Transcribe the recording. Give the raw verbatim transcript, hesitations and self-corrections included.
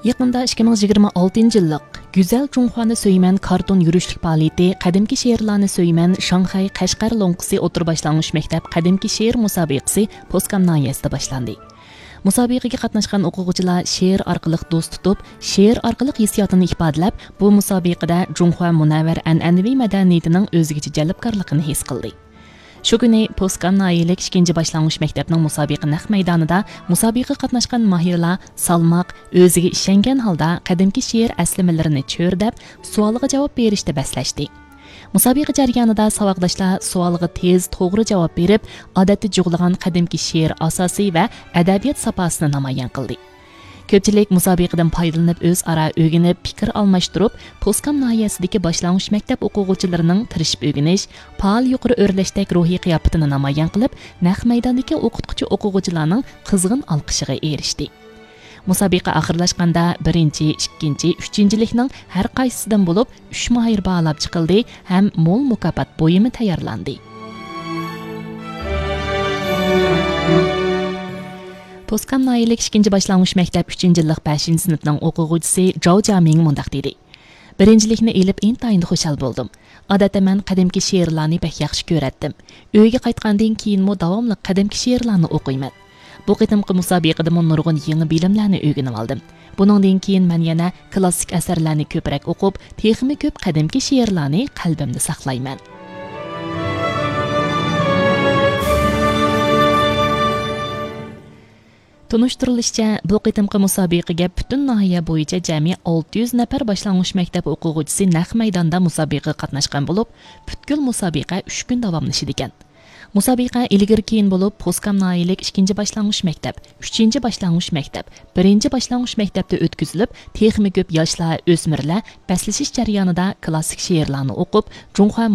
يېقىندا ئىككى مىڭ يىگىرمە ئالتىنچى يىللىق گۈزەل جۇڭخۇانى سۆيىمەن كارتون يۈرۈشلۈك پائالىيىتى قەدىمكى شېئىرلارنى سۆيىمەن شاڭخەي قەشقەر لوڭقىسى ئوتتۇرا باشلانغۇچ مەكتەپ قەدىمكى شېئىر مۇسابىقىسى پوسكام ناھىيەسىدە باشلاندى. مۇسابىقىگە قاتناشقان ئوقۇغۇچىلار شېئىر ئارقىلىق دوست تۇتۇپ، شېئىر ئارقىلىق ھېسسىياتىنى ئىپادىلەپ، بۇ مۇسابىقىدە جۇڭخۇا مۇنەۋۋەر ئەنئەنىۋى مەدەنىيىتىنىڭ ئۆزگىچە جەلپكارلىقىنى ھېس قىلدى. شۇ كۈنى پوسكام ناھىيەلىك ئىككىنچى باشلانغۇچ مەكتەپنىڭ مۇسابىقە نەق مەيدانىدا مۇسابىقىگە قاتناشقان ماھىرلار سالماق، ئۆزىگە ئىشەنگەن ھالدا قەدىمكى شېئىر ئەسلىمىلىرىنى چۆرىدەپ، سوئالغا جاۋاب بېرىشتە بەسلەشتى. مۇسابىقە جەريانىدا ساۋاقداشلار سوئالغا تېز، توغرا جاۋاب بېرىپ، ئادەتتە جۇغلىغان قەدىمكى شېئىر ئاساسى ۋە ئەدەبىيات ساپاسىنى نامايان قىلدى. كۆپچىلىك مۇسابىقىدىن پايدىلىنىپ، ئۆزئارا ئۆگىنىپ، پىكىر ئالماشتۇرۇپ، پوسكام ناھىيەسىدىكى باشلانغۇچ مەكتەپ ئوقۇغۇچىلىرىنىڭ تىرىشىپ ئۆگىنىش، پائال يۇقىرى ئۆرلەشتەك روھىي قىياپىتىنى نامايان قىلىپ، نەق مەيداندىكى ئوقۇتقۇچى ئوقۇغۇچىلارنىڭ قىزغىن ئالقىشىغا ئېرىشتى. مۇسابىقە ئاخىرلاشقاندا، بىرىنچى، ئىككىنچى، ئۈچىنچىلىكنىڭ ھەر قايسىسىدىن بولۇپ ئۈچ ماھىر باھالاپ چىقىلدى ھەم مول مۇكاپات بۇيۇمى تەييارلاندى. پوسكام ناھىيەلىك ئىككىنچى باشلانغۇچ مەكتەپ ئۈچىنچى يىللىق بەشىنچى سىنىپنىڭ ئوقۇغۇچىسى جاۋ جامىڭ مۇنداق دېدى: بىرىنچىلىكنى ئېلىپ ئىنتايىن خۇشال بولدۇم. ئادەتتە مەن قەدىمكى شېئىرلارنى بەك ياخشى كۆرەتتىم. ئۆيگە قايتقاندىن كېيىنمۇ داۋاملىق قەدىمكى شېئىرلارنى ئوقۇيمەن. بۇ قېتىمقى مۇسابىقىدىمۇ نۇرغۇن يېڭى بىلىملەرنى ئۆگىنىۋالدىم. بۇنىڭدىن كېيىن مەن يەنە كلاسسىك ئەسەرلەرنى كۆپرەك ئوقۇپ، تېخىمۇ كۆپ قەدىمكى شېئىرلارنى قەلبىمدە ساقلايمەن. تونۇشتۇرۇلۇشىچە، بۇ قېتىمقى مۇسابىقىگە پۈتۈن ناھىيە بويىچە جەمئىي ئالتە يۈز نەپەر باشلانغۇچ مەكتەپ ئوقۇغۇچىسى نەق مەيداندا مۇسابىقىگە قاتناشقان بولۇپ، پۈتكۈل مۇسابىقە ئۈچ كۈن داۋاملىشىدىكەن. مۇسابىقە ئىلگىرى كېيىن بولۇپ، پوسكام ناھىيەلىك ئىككىنچى باشلانغۇچ مەكتەپ، ئۈچىنچى باشلانغۇچ مەكتەپ، بىرىنچى باشلانغۇچ مەكتەپتە ئۆتكۈزۈلۈپ، تېخىمۇ كۆپ ياشلار، ئۆسمۈرلەر بەسلىشىش جەريانىدا كلاسسىك شېئىرلارنى ئوقۇپ، جۇڭخۇا